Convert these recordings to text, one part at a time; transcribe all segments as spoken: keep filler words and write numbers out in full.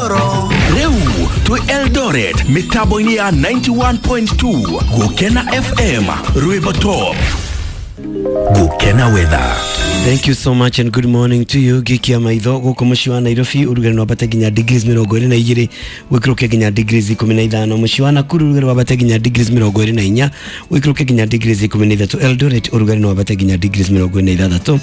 Rĩu twĩ Eldoret mĩtambo-inĩ ya ninety-one point two Gũkena F M Rwĩmbo Top. Gũkena weather. Thank you so much and good morning to you. Gikia maitho gũkũ mũciĩ wa Nairobi ũrugarĩ no wambate nginya degrees mĩrongo ĩrĩ na igĩrĩ wĩikũrũke nginya degrees ikũmi na ithano. Mũciĩ wa Nakuru ũrugarĩ wambate nginya degrees mĩrongo ĩrĩ na inya wĩikũrũke nginya degrees ikũmi na ithatũ. Eldoret ũrugarĩ no wambate nginya degrees mĩrongo ĩrĩ na ithathatũ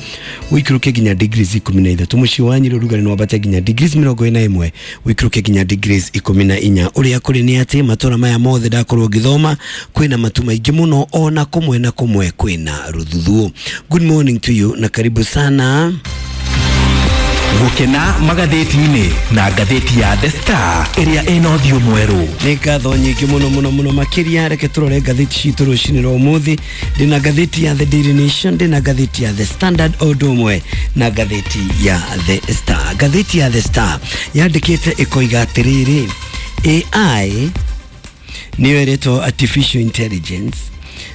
wĩikũrũke nginya degrees ikũmi na ithatũ. Mũciĩ wa Nyĩrĩ ũrugarĩ no wambate nginya degrees mĩrongo ĩrĩ na ĩmwe wĩikũrũke nginya degrees ikũmi na inya. Ũrĩa kũrĩ nĩ atĩ matũra maya mothe ndakorwo ngĩthoma kwĩna matu maingĩ mũno ona kũmwe na kũmwe kwĩna rũthuthuũ. Good morning to you na karibu sana. Gũkena magathĩti-inĩ na ngathĩti ya The Star ĩrĩa ĩna ũthiũ mwerũ. Nĩ ngatho nyingĩ mũno mũno mũno makĩria. Reke tũrore ngathĩti citũ rũcinĩ rwa ũmũthĩ. Ndĩna ngathĩti ya The Daily Nation, ndĩna ngathĩti ya The Standard o ũndũ ũmwe na ngathĩti ya The Star. Ngathĩti ya The Star yandĩkĩte ĩkoiga atĩrĩrĩ, A I nĩyo ĩretwo artificial intelligence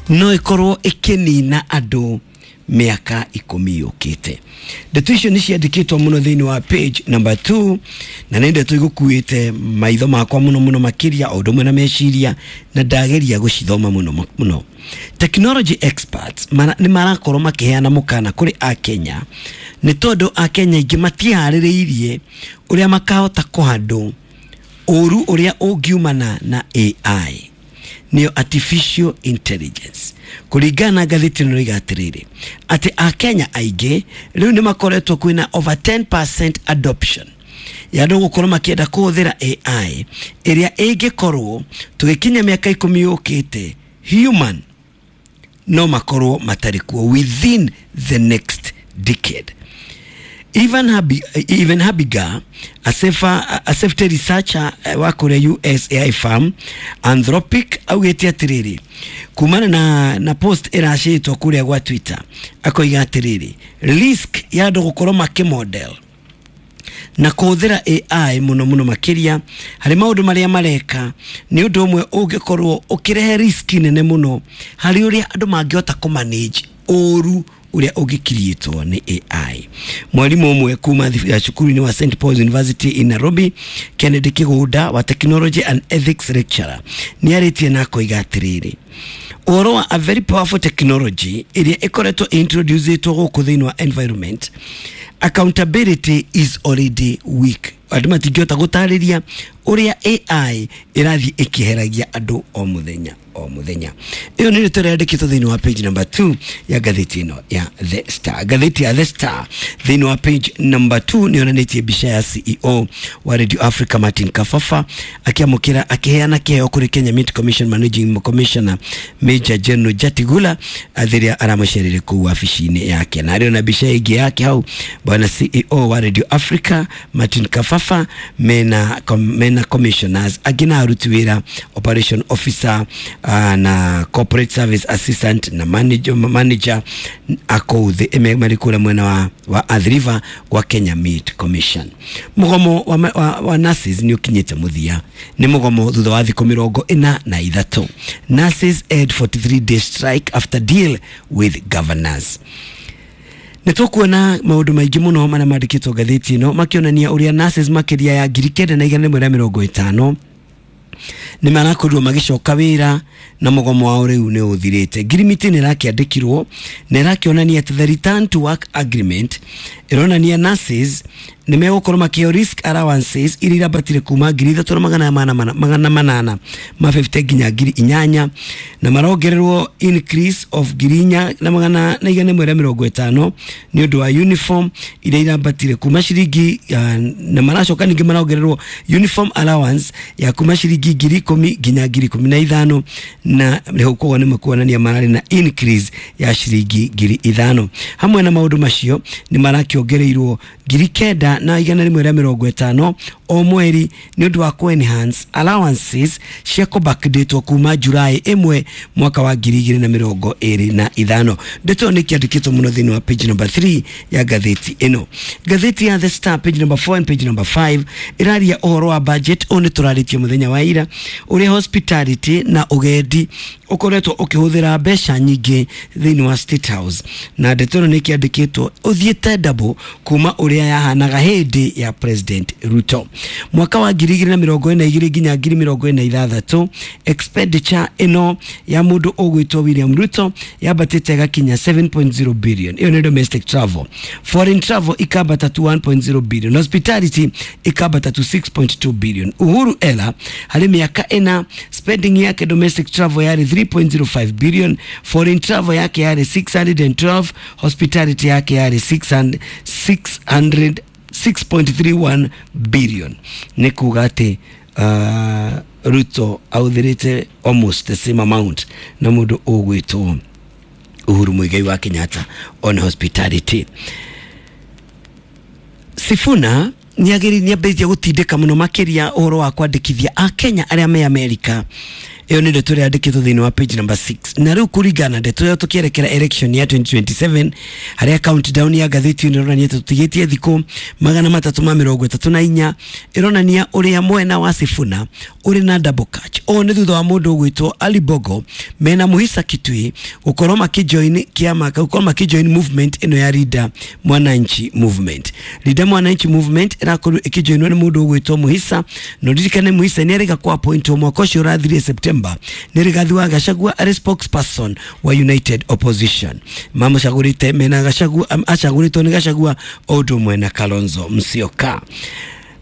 no ĩkorwo ĩkĩnina andũ mĩaka ikũmi yũkĩte. Ndeto icio nĩ ciandĩkĩtwo mũno thĩinĩ wa page number two, na nĩ ndeto igũkuĩte maitho makwa mũno mũno makĩria o ũndũ ũmwe na meciria, na ndageria gũcithoma mũno mũno. Technology experts mara-, nĩ marakorwo makĩheana mũkana kũrĩ Akenya nĩ tondũ Akenya aingĩ matiharĩrĩirie ũrĩa makahota kũhandũ ũru ũrĩa ũngiumana na A I, nĩyo artificial intelligence. Kũringana na ngathĩti ĩno ĩroiga atĩrĩrĩ, atĩ Akenya aingĩ rĩu nĩ makoretwo kwĩna over ten percent adoption ya andũ gũkorwo makĩenda kũhũthĩra A I ĩrĩa ĩngĩkorwo tũgĩkinya mĩaka ikũmi yũkĩte human no makorwo matarĩ kuo within the next decade. Even Habi, even Habiga, a safer, a safety researcher wa kũrĩa U S A I firm Anthropic, augĩte atĩrĩrĩ kumana na, na post ĩracĩtwo kũrĩa gwa Twitter, akoiga atĩrĩrĩ risk ya andũ gũkorwo makĩmodel na kũhũthĩra A I mũno mũno makĩria harĩ maũndũ marĩa mareka nĩ ũndũ ũmwe ũngĩkorwo ũkĩrehe risk nene mũno harĩ ũrĩa andũ mangĩhota kũmanage ũru ũrĩa ũngĩkiriĩtwo nĩ A I. Mwalimu ũmwe kuma cukuru-inĩ wa Saint Paul's University in Nairobi, Kennedy Kigunda wa Technology and Ethics lecturer, nĩ arĩtie na akoiga atĩrĩrĩ, ũhoro wa a very powerful technology ĩrĩa ĩkoretwo introduced gũkũ thĩinĩ wa environment, accountability is already weak. Andũ matingĩhota gũtarĩria ũrĩa A I ĩrathiĩ ĩkĩheragia andũ o mũthenya o mũthenya. Ĩyo nĩ ndeto ĩrĩa yandĩkĩtwo thĩinĩ wa page number two ya ngathĩti ĩno ya The Star. Ngathĩti ya The Star thĩinĩ wa page number two nĩ yonanĩtie mbica ya C E O wa Radio Africa Martin Kafafa akĩamũkĩra akĩheana kĩheo kũrĩ Kenya Meat Commission Managing Commissioner Major General Jatigula rĩrĩa aramũcereire kũu wabici-inĩ yake. Na arĩ na mbica ĩngĩ yake hau bwana C E O wa Radio Africa Martin Kafafa mena, mena commissioners angĩ na aruti wĩra, operation officer, uh, na corporate service assistant na manager, manager akũu thĩ marĩ kũrĩa mwena wa, wa Athi River gwa Kenya Meat Commission. Mũgomo wa, wa, wa nurses nĩ ũkinyĩte mũthia. Nĩ mũgomo thutha wa thikũ mĩrongo ĩna na ithatũ. Nurses add forty-three day strike after deal with governors. Nĩ tũkuona maũndũ maingĩ mũno marĩa mandĩkĩtwo ngathĩti ĩno makĩonania ũrĩa nurses makĩria ya ngiri kenda na igana rĩmwe rĩa mĩrongo ĩtano nĩ marakorirwo magĩcoka wĩra na mũgomo wao rĩu nĩ ũthirĩte. Ngirimiti nĩ ĩrakĩandĩkirwo na ĩrakĩonania atĩ the return to work agreement ĩronania nurses nĩ megũkorwo makĩheo risk allowances iria irambatire kuma ngiri ithatũ na magana mana, magana manana ma fifty nginya ngiri inyanya, na marongererwo increase of ngiri inya na magana na igana rĩmwe rĩa mĩrongo ĩtano nĩ ũndũ wa uniform iria irambatire kuma ciringi, uh, na maracoka ningĩ marongererwo uniform allowance ya kuma ciringi ngiri ikũmi nginya ngiri ikũmi na ithano, na rĩu koguo nĩ makuonania mararĩ na increase ya ciringi ngiri ithano. Hamwe na maũndũ macio nĩ marakĩongereirwo ngiri kenda na igana rĩmwe rĩa mĩrongo ĩtano o mweri nĩ ũndũ wa ku-enhance allowances cia kũbackdatwo kuma July ĩmwe mwaka wa ngiri igĩrĩ na mĩrongo ĩrĩ na ithano. Ndeto ĩyo nĩ kĩandĩkĩtwo mũno thĩinĩ wa page number three ya ngathĩti ĩno. Ngathĩti ya The Star page number four and page number five ĩraria ũhoro wa budget. Ũyũ nĩ tũrarĩtie mũthenya wa ira ũrĩa hospitality na ũgendi ũkoretwo ũkĩhũthĩra mbeca nyingĩ thĩinĩ wa State House, na ndeto ĩno nĩ ĩkĩandĩkĩtwo ũthiĩte double kuma ũrĩa yahanaga hĩndĩ ya President Ruto. Mwaka wa ngiri igĩrĩ na mĩrongo ĩna igĩrĩ nginya ngiri mĩrongo ĩna ithathatũ, expenditure ĩno ya mũndũ ũgwĩtwo William Ruto yambatĩte ĩgakinya seven point zero billion. Ĩyo nĩ domestic travel. Foreign travel ikambata to one point zero billion. Hospitality ikambata to six point two billion. Uhuru Ela harĩ mĩaka ĩna spending yake domestic travel yarĩ three point zero five billion, foreign travel yake yarĩ six hundred and twelve, hospitality yake yarĩ six hundred six point three one billion. Nĩ kuga atĩ uh, Ruto ahũthĩrĩte almost the same amount na mũndũ ũgwĩtwo Uhuru Muigai wa Kenyatta on hospitality. Sifuna nĩ ambĩrĩirie gũtindĩka mũno makĩria ũhoro wa kwandĩkithia Akenya arĩa me Amerika. Ĩyo nĩ ndeto ĩrĩa yandĩkĩtwo thĩinĩ wa page number six. Na rĩu kũringana na ndeto ĩyo tũkĩerekera election ya twenty twenty-seven, harĩa countdown ya ngathĩti ĩno ĩronania tũtigĩtie thikũ magana matatũ ma mĩrongo ĩtatũ na inya, ĩronania ũrĩa mwena wa Sifuna ũrĩ na double catch. Ũũ nĩ thutha wa mũndũ ũgwĩtwo Ali Bogo mena Muhisa Kitui gũkorwo makĩjoin kĩama, gũkorwo makĩjoin movement ĩno ya Linda Mwananchi Movement. Linda Mwananchi Movement ĩrakorwo ĩkĩjoinwo nĩ mũndũ ũgwĩtwo Muhisa, na ũririkane Muhisa nĩ arĩga kwa appoint mwaka ũcio ũrathirire September nĩ Rigathi wa Gachagua arĩ spokesperson wa United Opposition. Mamũcagũrĩte mena Gachagua, acagũrĩtwo nĩ Gachagua o ũndũ ũmwe na Kalonzo Musyoka.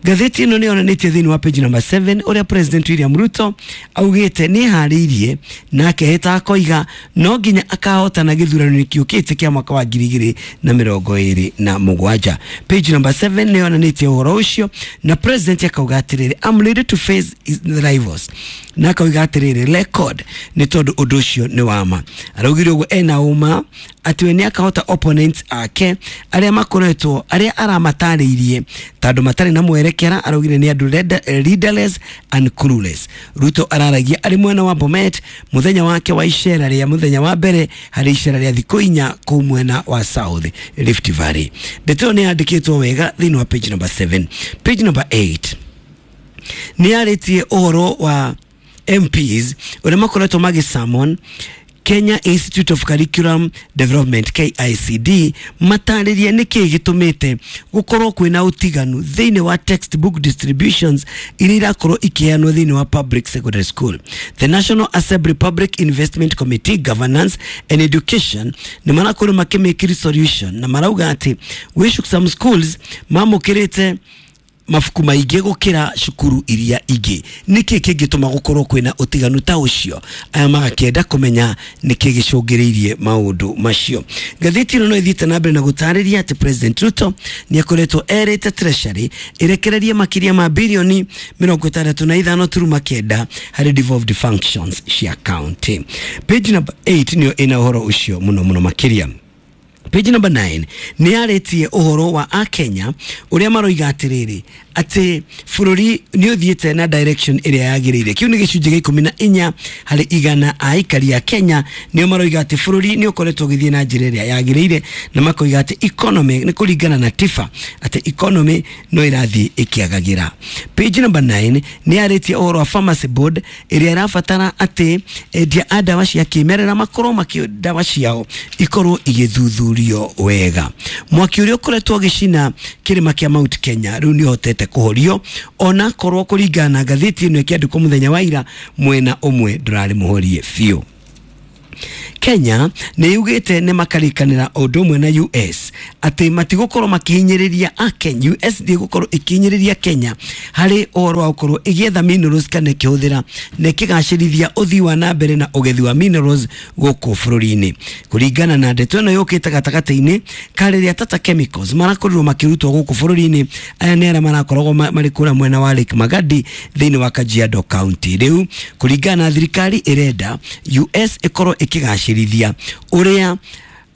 Ngathĩti ĩno nĩ yonanĩtie thĩinĩ wa page number seven ũrĩa President William Ruto augĩte nĩ harĩirie na akehĩta akoiga no nginya akahotana gĩthurano gĩũkĩte kĩa mwaka wa ngiri igĩrĩ na mĩrongo ĩrĩ na mũgwanja. Page number seven nĩ yonanĩtie ũhoro ũcio na President akauga atĩrĩrĩ, I'm ready to face his rivals, na akauga atĩrĩrĩ record nĩ tondũ ũndũ ũcio nĩ wa ma. Araugire ũguo ena ũma atĩ we nĩ akahota opponents ake arĩa makoretwo arĩa aramatarĩirie tondũ matarĩ na mwerekera, araugire nĩ andũ leaderless and clueless. Ruto araragia arĩ mwena wa Bomet mũthenya wake wa icera rĩa mũthenya wa mbere harĩ icera rĩa thikũ inya kũu mwena wa South Rift Valley. Ndeto ĩyo nĩ yandĩkĩtwo wega thĩinĩ wa page number seven. Page number eight nĩ yarĩtie ũhoro wa M Ps ũrĩa makoretwo magĩsummon Kenya Institute of Curriculum Development K I C D matarĩrie nĩkĩĩ gĩtũmĩte gũkorwo kwĩna ũtiganu thĩinĩ wa textbook distributions iria irakorwo ikĩheanwo thĩinĩ wa public secondary school. The National Assembly Public Investment Committee Governance and Education nĩ marakorwo makĩmake resolution na marauga atĩ gwĩ some schools mamũkĩrĩte mabuku maingĩ gũkĩra cukuru iria ingĩ. Nĩkĩ kĩngĩtũma gũkorwo kwĩna ũtiganu ta ũcio? Aya magakĩenda kũmenya nĩkĩ gĩcũngĩrĩirie maũndũ macio. Ngathĩti ĩno no ĩthiĩte na mbere na gũtarĩria atĩ President Ruto nĩ akoretwo erĩte Treasury ĩrekererie makĩria ma birioni mĩrongo ĩtandatũ na ithano turuma kenda harĩ devolved functions cia county. Page number eight nĩyo ĩna ũhoro ũcio mũno mũno makĩria. Page number nine nĩ yarĩtie ũhoro wa Akenya ũrĩa maroiga atĩrĩrĩ atĩ bũrũri nĩ ũthiĩte na direction ĩrĩa yagĩrĩire. Kĩu nĩ gĩcunjĩ gĩa ikũmi na inya harĩ igana a aikari a Kenya nĩo maroiga atĩ bũrũri nĩ ũkoretwo ũgĩthiĩ na njĩra ĩrĩa yagĩrĩire, na makoiga atĩ economy nĩ kũringana na T I F A atĩ economy no ĩrathiĩ ĩkĩagagĩra. Page number nine nĩ yarĩtie ũhoro wa Pharmacy Board ĩrĩa ĩrabatara atĩ endia a ndawa cia kĩmerera makorwo makĩ ndawa ciao ikorwo igĩthuthurio wega. Mwaki ũrĩa ũkoretwo ũgĩcina kĩrĩma kĩa Mount Kenya rĩu nĩ ũhotete kũhorio ona korwo kũringana na ngathĩti ĩno ĩkĩandĩkwo mũthenya wa ira mwena ũmwe ndũrarĩ mũhorie biũ. Kenya nĩ yugĩte nĩ makarikanĩra ũndũ ũmwe na U S atĩ matigũkorwo makĩhinyĩrĩria a Kenya. U S ndĩgũkorwo ĩkĩhinyĩrĩria Kenya harĩ ũhoro wa gũkorwo ĩgĩetha minerals kana ĩkĩhũthĩra na ĩkĩgacĩrithia ũthii wa na mbere na ũgethi wa minerals gũkũ bũrũri-inĩ. Kũringana na ndeto ĩno yũkĩte gatagatĩ-inĩ ka rĩrĩa Tata Chemicals marakorirwo makĩrutwo gũkũ bũrũri-inĩ, aya nĩ arĩa marakoragwo marĩ kũrĩa mwena wa Lake Magadi thĩinĩ wa Kajiado County. Rĩu kũringana na thirikari ĩrenda U S ĩkorwo ĩkĩgacĩrithia ũrĩa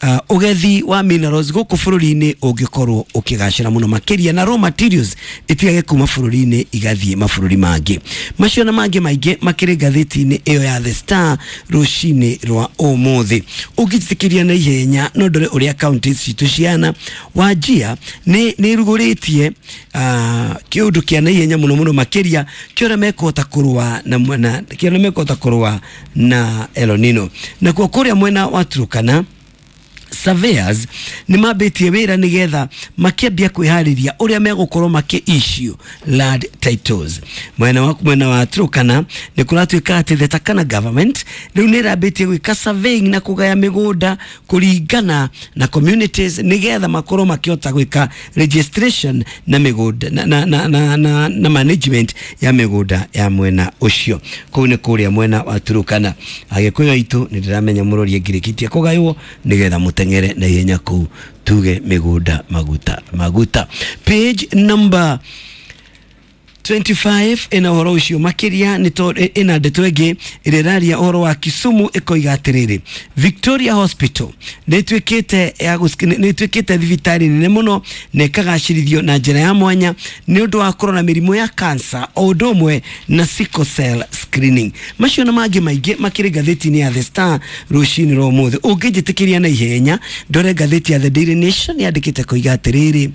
uh, ugethi wa minerals guku bururi-ini ungikorwo ukigacira muno makiria na raw materials itigage kuma bururi-ini igathie mabururi mangi. Macio na mangi maingi makiri ngathĩti-inĩ ĩyo ya The Star rucini rwa umuthi. Ungitikiria na ihenya no ndore uria counties citu ciana Wajia ni ni ruguritie uh, kiundu kia na ihenya muno muno makiria kiora mekota kurua na na kiora mekota kurua na El Nino. Na kwa kuria mwena wa Turkana, surveyors ni mambitie wira nigetha makiambia kwihariria uria megukorwo maki issue land titles. Mwena wa mwena wa Turkana ni kuratuika ati the Turkana government riu ni rambitie gwika surveying na kugaya migunda kuringana na communities nigetha makorwo makiota gwika registration na migunda na na na, na, na, na management ya migunda ya mwena ucio. Kuu ni kuria mwena wa Turkana. Agikuyu aitu ni ndiramenya murorie ngirikitie kugaywo nigetha mutengere na ihenya kuu tuge migunda maguta maguta. Page number twenty-five ina uhoro ucio makiria ni to ina ndeto ingi ireraria uhoro wa Kisumu ikoiga atiriri Victoria Hospital ni twikite ya ni twikite thibitari nene muno na ikagacirithio na njira ya mwanya ni undu wa korona mirimu ya cancer o undu umwe na sickle cell screening. Macio na mangi maingi makiri ngathĩti-inĩ ya The Star rucini rwa umuthi. Ungĩnjĩtĩkĩria na ihenya ndore ngathĩti ya The Daily Nation yandĩkĩte koiga atiriri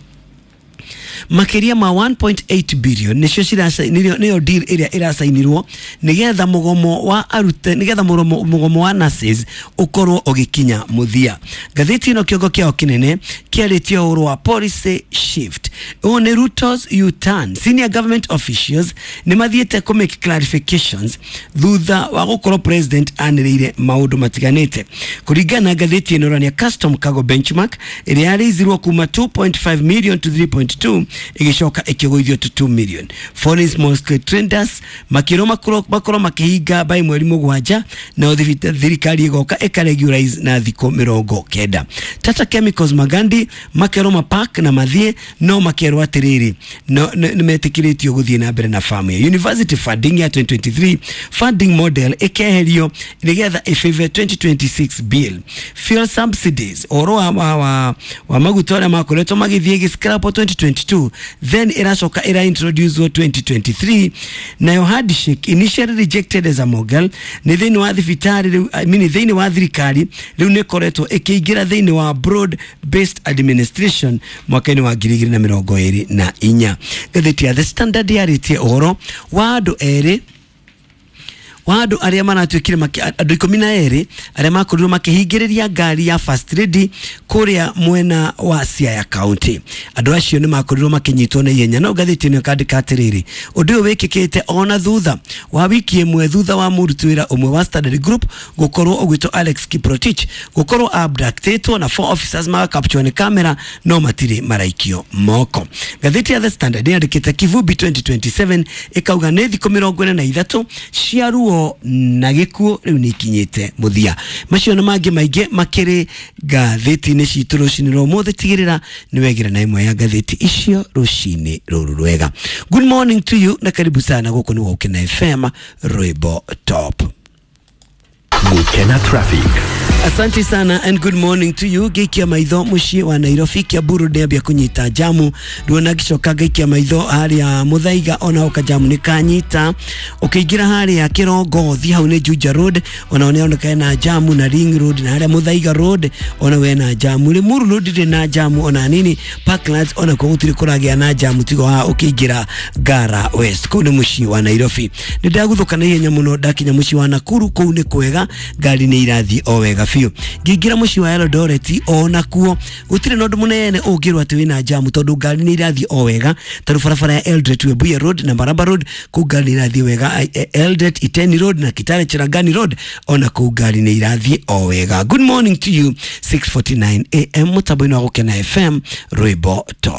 makiria ma one point eight billion nicio cirasa niyo deal iria irasainirwo nigetha mugomo wa arute nigetha mugomo wa nurses ukorwo ugikinya muthia. Ngathĩti ino kiongo kiao kinene kiarĩtie ũhoro wa policy shift. Ũũ nĩ Ruto's U-turn. Senior government officials nĩ mathiĩte kũ make clarifications thutha wa gũkorwo president anĩrĩire maũndũ matiganĩte. Kũringana na ngathĩti ĩno ĩronania custom cargo benchmark ĩrĩa yarĩithirwo kuma two point five million to three point two igicoka ikigũithio to two million. Foreign small scale traders makĩrwo makorwo makorwo makihinga by mweri mũgwanja na thirikari igoka ĩkaregularize na thikũ mĩrongo kenda. Tata Chemicals Magandi makerwo mapark na mathie no makerwo atiriri no nĩ metĩkĩrĩtio gũthiĩ na mbere na farm ya university funding ya twenty twenty-three funding model ĩkeherio nĩgetha ĩfavor twenty twenty-six bill. Fuel subsidies ũhoro wa, wa, wa, wa maguta arĩa makoretwo magĩthiĩ gĩscrap twenty twenty-two then iracoka ira introduce twenty twenty-three. Nayo handshake initially rejected as a model ni thĩinĩ wa thibitarĩ rĩu, I mean thĩinĩ wa thirikari rĩu nĩ ĩkoretwo ĩkĩingĩra thĩinĩ wa broad based administration mwaka-inĩ wa ngiri igĩrĩ na mĩrongo ĩrĩ na inya. Ngathĩti ya The Standard yarĩtie ũhoro wa andũ erĩ wa andũ arĩa maratuĩkire andũ ikũmi na erĩ arĩa makorirwo makĩhingĩrĩria ngari ya First Lady kũrĩa mwena wa Siaya County. Andũ acio nĩ makorirwo makĩnyitwo na ihenya. No ngathĩti ĩno ĩkandĩka atĩrĩrĩ ũndũ ũyũ wĩkĩkĩte ona thutha wa wiki ĩmwe thutha wa mũruti wĩra ũmwe wa Standard Group gũkorwo ũgwĩtwo Alex Kiprotich gũkorwo abductetwo na four officers magakapturwo nĩ kamera no matirĩ maraikio moko. Ngathĩti ya The Standard yandĩkĩte Kivumbi twenty twenty-seven ĩkauga nĩ thikũ mĩrongo ĩna na ithatũ cia ruo na gĩkuũ rĩu nĩ ikinyĩte mũthia. Macio na mangĩ maingĩ makĩrĩ ngathĩti-inĩ citũ rũcinĩ rwa ũmũthĩ. Tigĩrĩra nĩ wegĩra na ĩmwe ya ngathĩti icio rũcinĩ rũrũ rwega. Good morning to you na karibu sana gũkũ nĩ Gũkena F M Rwĩmbo Top. Gũkena Traffic. Asante sana and good morning to you. Gaikia maitho muciĩ wa Nairobi Kiambu ndĩambia kũnyita jamu ruona gicoka gaikia maitho haria Muthaiga ona oka jamu nĩ kanyita ũkĩingĩra haria Kĩrongothi hau nĩ Juja Road ona nĩ na jamu na Ring Road na haria Muthaiga Road ona we na jamu Limuru Road ndĩ na jamu ona nini Parklands ona kwa gũtirĩ kũragĩa na jamu tigo ha ũkĩingĩra Ngara West kũu nĩ muciĩ wa Nairobi. Nĩ ndagũthũka na ihenya mũno ndakinya muciĩ wa Nakuru kũu nĩ kwega ngari nĩ irathiĩ o wega biũ. Ngĩingĩra mũciĩ wa Eldoret ona kuo gũtirĩ na ũndũ mũnene ũngĩrwo atĩ wĩna jamu tondũ ngari nĩ irathiĩ o wega tarũ barabara ya Eldoret Webuye Road na Maraba Road kũu ngari nĩ irathiĩ wega. Eldoret Iteni Road na Kitale Cherangani Road ona kũu ngari nĩ irathiĩ o wega. Good morning to you. Six forty-nine A M mũtambo-inĩ wa Gũkena F M Rwĩmbo Top.